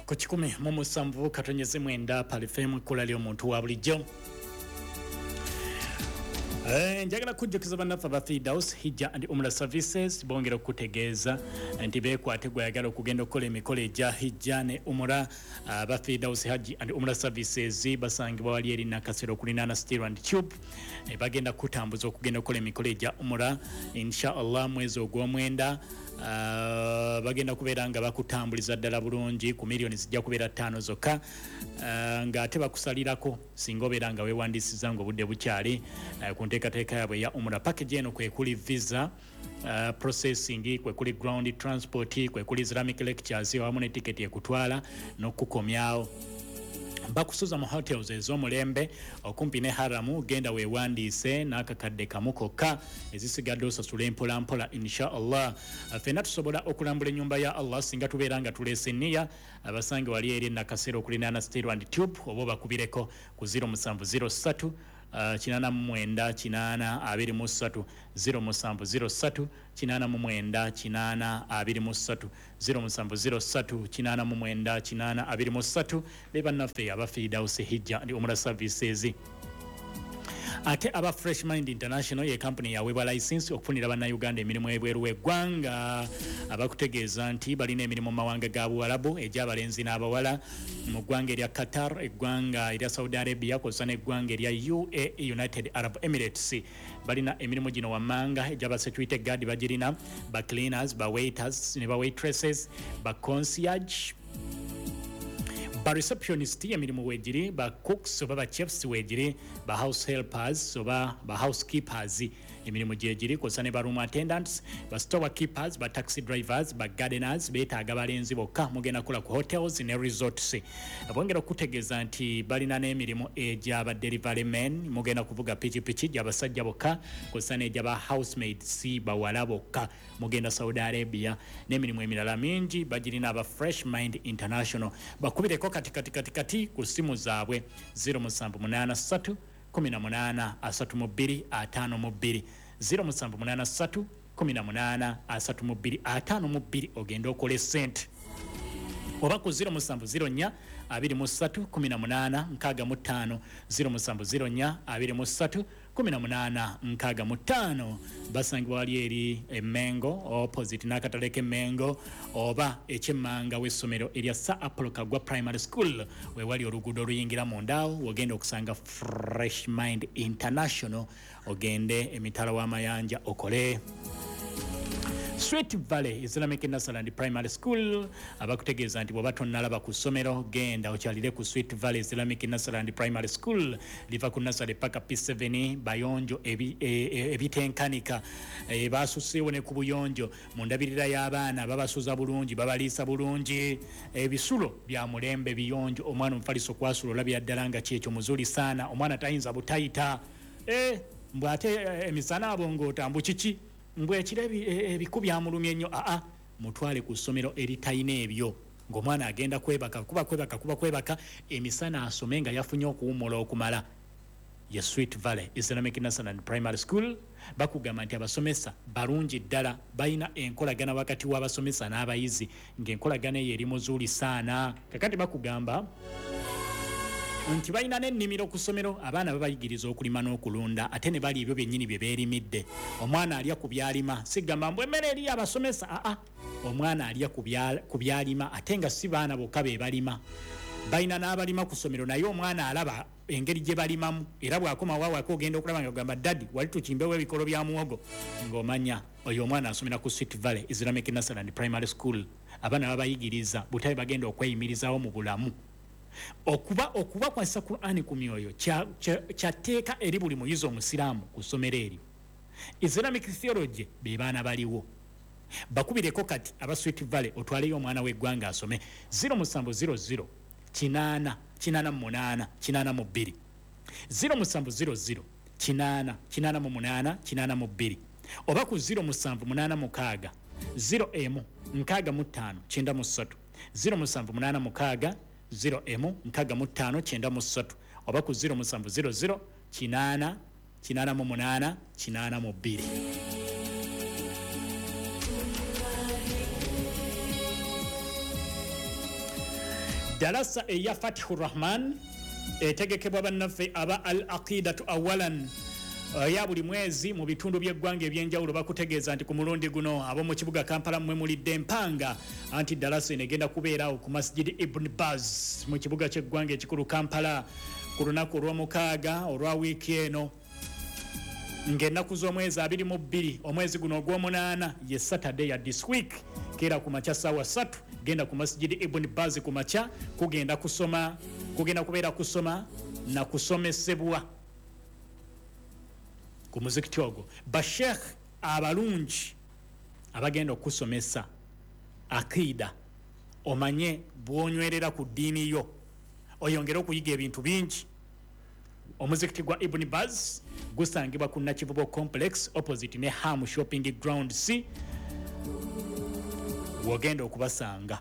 Ku 107.9 Palifemu, ekkula ly'omuntu wa bulijjo. Njagala kujjukiza bannaffe aba Fidaus Hijja and Umra Services, bongera okutegeeza nti beekwate gwayagala okugenda okukola emikolo egya Hijja ne Umra. Aba Fidaus Hajji and Umra Services basangibwa wali eri Nakasero okulinaana Steel and Tube. Bagenda kutambuza okugenda okukola emikolo egya Umra insha Allah mwezi ogw'omwenda. Bagenda kubeera nga bakutambuliza ddala bulungi ku miliyoni zijja kubeera 5 zokka, ng'ate bakusalirako singa obeera nga weewandiisiza ng'obudde bukyali ku nteekateeka yaabwe eya Umra. Package eno kwekuli visa processing, kwekuli ground transport, kwekuli Islamic lectures wamu ne tiketi ekutwala n'okukomyawo. Bakusuza mu hotels ez'omulembe okumpi ne Haramu. Genda weewandiise n'akakadde kamu kokka, ezisigadde osasula empola mpola insha Allah. Ffenna tusobola okulambula ennyumba ya Allah singa tubeera nga tuleese nniya. Abasange wali eri Nakasero okulinaana Steel and Tube, oba obakubireko ku 0703 89 823, 0703 89 823, 0703 89 823. Be bannaffe aba Fidaus Hijja and Umra Services. Ate aba Fresh Mind International ye kampuni yaweebwa license okufunira bannayuganda emirimu ebweru w'eggwanga. Abakutegeeza nti balina emirimu mu mawanga ga Buwalabu egy'abalenzi n'abawala mu ggwanga erya Qatar, eggwanga erya Saudi Arabia kw'ossa n'eggwanga erya UAE, United Arab Emirates. Balina emirimu gino wammanga: egy'aba security guard bagirina, ba cleaners, ba waiters ne ba waitresses, ba concierge, ba receptionist emirimu weegiri, ba cooks oba ba chefs weegiri, ba house helpers oba ba housekeepers emirimu gyegiri, kw'ossa ne ba room attendants, ba store keepers, ba taxi drivers, ba gardeners. Beetaaga balenzi bokka. Mugenda kukola ku hotels ne resorts. Bongera okutegeeza nti balina n'emirimu egy'aba delivery men, mugenda kuvuga pikipiki, gy'abasajja bokka, kw'ossa n'egyaba housemaids, bawala bokka, mugenda Saudi Arabia, n'emirimu emirala mingi bagirina aba Fresh Mind International. Bakubireko kati kati kati kati ku ssimu zaabwe 0783 18 32 52, 0783 18 32 52, ogende okole sente, oba ku 0704 23 18 65, 0704 23 18 65. Basangibwa wali eri Emengo opposite n'akatale k'Emengo oba ekyemmanga w'essomero erya Sir Apollo Kagwa Primary School, wewali oluguudo oluyingira mundaawo, wogenda okusanga Fresh Mind International. Ogende emitala w'amayanja okole. Sweet Valley Islamic Nursery and Primary School abakutegeeza nti bw'oba tonnalaba ku ssomero, genda okyalire ku Sweet Valley Islamic Nursery and Primary School. Liva ku nursery paka P7, bayonjo ebitenkanika. Basuseewo ne ku buyonjo mu ndabirira y'abaana, babasuza bulungi, babaliisa bulungi, ebisulo bya mulembe, biyonjo. Omwana omufaliso kwasula olabira ddala nga kyekyo muzuli saana, omwana tayinza butayita. Mbw ate emisana abongoota mbu kiki, mbw ekiro ebiku byamulumye nnyo. Aa, mutwale ku ssomero eritalina ebyo, ng'omwana agenda kwebaka, kuba kwebaka, kuba kwebaka, emisana asome nga yafunye okuwummula okumala. Ye Sweet Valley Islamic Nursery and Primary School. Bakugamba nti abasomesa balungi ddala, balina enkolagana wakati w'abasomesa n'abayizi, ng'enkolagana eyo eri muzuuli saana. Kakati bakugamba nti balina n'ennimiro ku ssomero, abaana babayigiriza okulima n'okulunda, ate ne bali ebyo byennyini bye beerimidde. Omwana alya ku byalima, sigamba mbu emmere eri abasomesa. Aa, omwana alya ku byalima, ate nga si baana bokka be balima, balina n'abalima ku ssomero, naye omwana alaba engeri gye balimamu, era bw'akomawo awaka ogenda okulaba nga gamba, "Daddy, wali tukimbewo ebikolo bya muwogo," ng'omanya oyo omwana asomera ku Sweet Valley Islamic Nursery and Primary School. Abaana babayigiriza butabe bagenda okweyimirizawo mu bulamu. Okuba kwasa Qur'ani ku myoyo kyatteeka eri buli muyizi omusiraamu ku ssomero eryo. Islamic theology be baana baliwo. Bakubireko kati aba Sweet Valley, otwaleyo omwana w'eggwanga asome, 0700 8 88 82, 0700 8 88 82, oba ku 0786 01 65 93, 0786 01 65 93, oba ku 0700 8 88 82. Dalasa eya Fatihu Rahman etegekebwa bannaffe aba Al Aqidatu Awalan ya buli mwezi mu bitundu by'eggwanga ebyenjawulo. Bakutegeeza nti ku mulundi guno ab'omu kibuga Kampala mmwe mulidde empanga, anti dalasa eno egenda kubeerawo ku Masjid Ibn Baz mu kibuga ky'eggwanga ekikulu Kampala ku lunaku olw'omukaaga olwa wiiki eno, ng'ennaku z'omwezi 22 omwezi guno ogw'omunaana, ye Saturday ya this week. Keera ku makya saawa 3, genda ku Masjid Ibn Baz ku makya. Kugenda kusoma, kugenda kubeera kusoma na kusomesebwa ku muzikiti ogwo. Bashekh abalungi abagenda okusomesa akida, omanye bwonywerera ku ddiini yo, oyongere okuyiga ebintu bingi. Omuzikiti gwa Ibn Baz gusangibwa ku Nakivubo Complex, opposite ne Ham Shopping Ground C, wogenda okubasanga.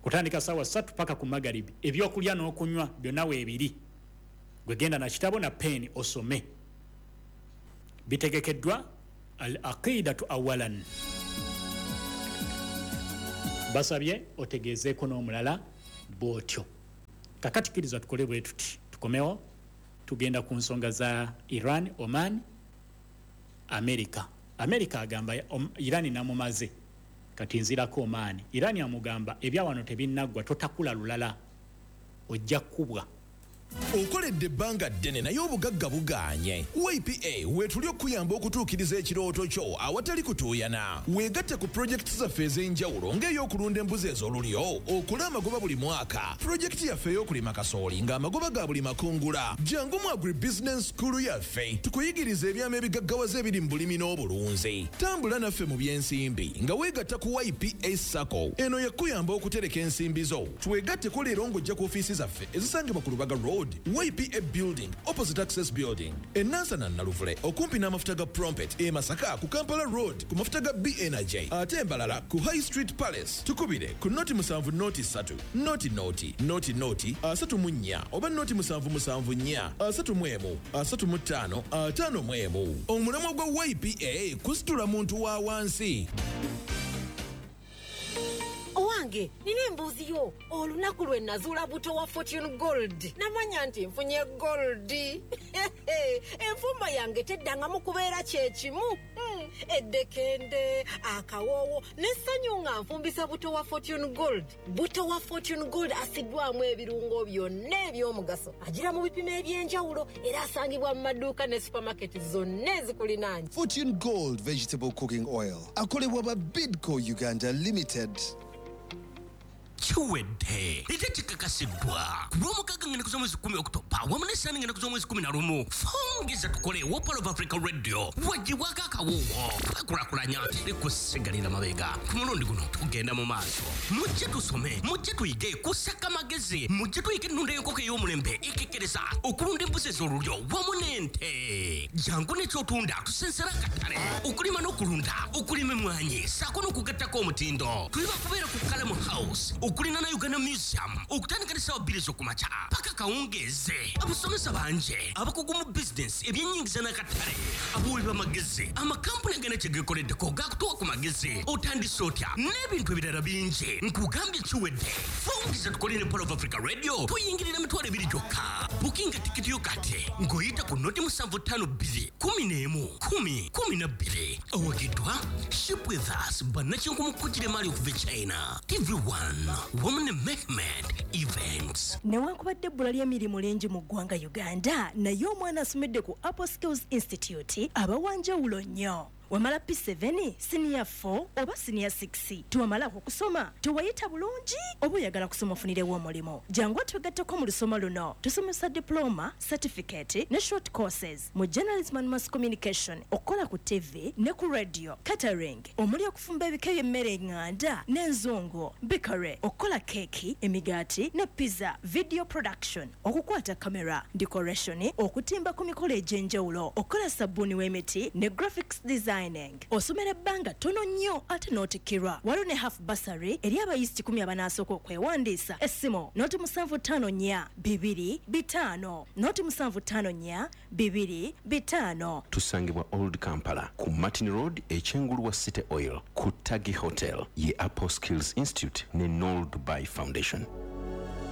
Kutandika saawa 3 paka ku magaribi. Ebyokulya n'okunywa byonna weebiri, gwegenda na kitabo na peeni osome. Bitegekeddwa Al Aqidatu Awalan. Basabye otegeezeeko n'omulala bw'otyo. Kakati kkiriza tukole bwe tuti, tukomewo, tugenda ku nsonga za Iran, Oman, America. America agamba Iran namumaze, kati nzirako Oman. Iran amugamba ebyawano tebinnaggwa, totakula lulala, ojja kkubwa. Okoledde ebbanga ddene naye obugagga bugaanye. YPA weetuli okuyamba okutuukiriza ekirooto kyo awatali kutuuyana. Weegatte ku pulojekiti zaffe ez'enjawulo, ng'ey'okulunda embuzi ez'olulyo okole amagoba buli mwaka, pulojekiti yaffe ey'okulima kasooli ng'amagoba ga buli makungula. Jangu mu Agribusiness School yaffe tukuyigiriza ebyama ebigaggawaza ebiri mu bulimi n'obulunzi. Tambula naffe mu by'ensimbi nga weegatta ku YPA SACCO. Eno yakuyamba okutereka ensimbi zo. Twegatteko leero ng'ojja ku ofiisi zaffe ezisangibwa ku Lubaga Road, YPA Building, opposite Access Building, enansana Naluvule okumpi n'amafuta ga Prompet, e Masaka ku Kampala Road ku mafuta ga BNJ, ate embalala ku High Street Palace. Tukubire ku 070 3 00 00 34 oba 077 4 31 35 51. Omulamwa gwa YPA kusitula muntu wa wansi. Owange, nina embuuzi yo. Olunaku lwe nazuula buto wa Fortune Gold, namanya nti nfunye gold. Enfumba yange teddangamu kubeera kyekimu. Eddekende, akawoowo n'essanyu nga nfumbisa buto wa Fortune Gold. Buto wa Fortune Gold asiddwamu ebirungo byonna eby'omugaso, agira mu bipimo eby'enjawulo, era asangibwa mu maduuka ne supamaketi zonna ezikulinaanye. Fortune Gold Vegetable Cooking Oil akolebwa ba Bidco Uganda Limited. Kiwedde ate kikakasiddwa ku Lwomukaaga ng'ennaku z'omwezi 10 Okutoba wamu n'essaani ng'ennaku z'omwezi 11. Fongeza tukole wa Pearl of Africa Radio wagibwako akawuwo. Twekulakulanya, teri kusigalira mabega. Ku mulundi guno tugenda mu maaso. Mujje tusome, mujje tuyige kusaka magezi, mujje tuyige ennunda y'enkoko ey'omulembe ekekkereza, okulunda embuzi ez'olulyo wamu n'ente. Jangu n'ekyotunda tusensera akatale, okulima n'okulunda, okulima emmwanyi ssaako n'okugattako omutindo. Tuli bakubeera ku Kalamu House okulina na Uganda Museum okutandika ne ssaawa 2 ez'okumakya paka kawungeeze. Abasomesa bangi abakugu mu bizinesi, ebyenyingiza n'akatale, abawi b'amagezi, amakampuni agana kye geekoleddeko gakutuwa ku magezi, otandise otya n'ebintu ebirala bingi. Nkugambye kiwedde. Fungiza tukole ne Pearl of Africa Radio, tuyingirira 20,000 gyokka. Bukinga tikiti yo kati ng'oyita ku 0752 11 10 12. Owagiddwa Ship With Us, bannakinku mu kugira emaali okuva e China, TV1 wamu ne Mehmed Events. Newankubadde ebbula ly'emirimu lingi mu ggwanga Uganda, naye omwana asomedde ku Apple Skills Institute aba wanjawulo nnyo. Wamala P7, siniya 4 oba siniya 6, tewamalako kusoma, tewayita bulungi, oba oyagala kusoma ofunirewo omulimu, jangu otwegatteko mu lusoma luno. Tusomesa diploma, certificate ne short courses mu journalism and mass communication, okukola ku TV ne ku radio, catering omuli okufumba ebika by'emmere eŋŋanda n'enzungu, bakery, okukola keeki, emigaati ne pizza, video production, okukwata kamera, decoration, okutimba ku mikolo egy'enjawulo, okukola sabbuuni w'emiti ne graphics design. designing. Osomera ebbanga ttono nnyo ate n'otikkirwa. Waliwo ne half bursary eri abayizi 10 abanaasooka okwewandiisa. Essimu 0754 2 5 0754 2 5. Tusangibwa Old Kampala ku Martin Road, ekyengulu wa City Oil, ku Tagi Hotel. Ye Apple Skills Institute ne Nol Dubai Foundation.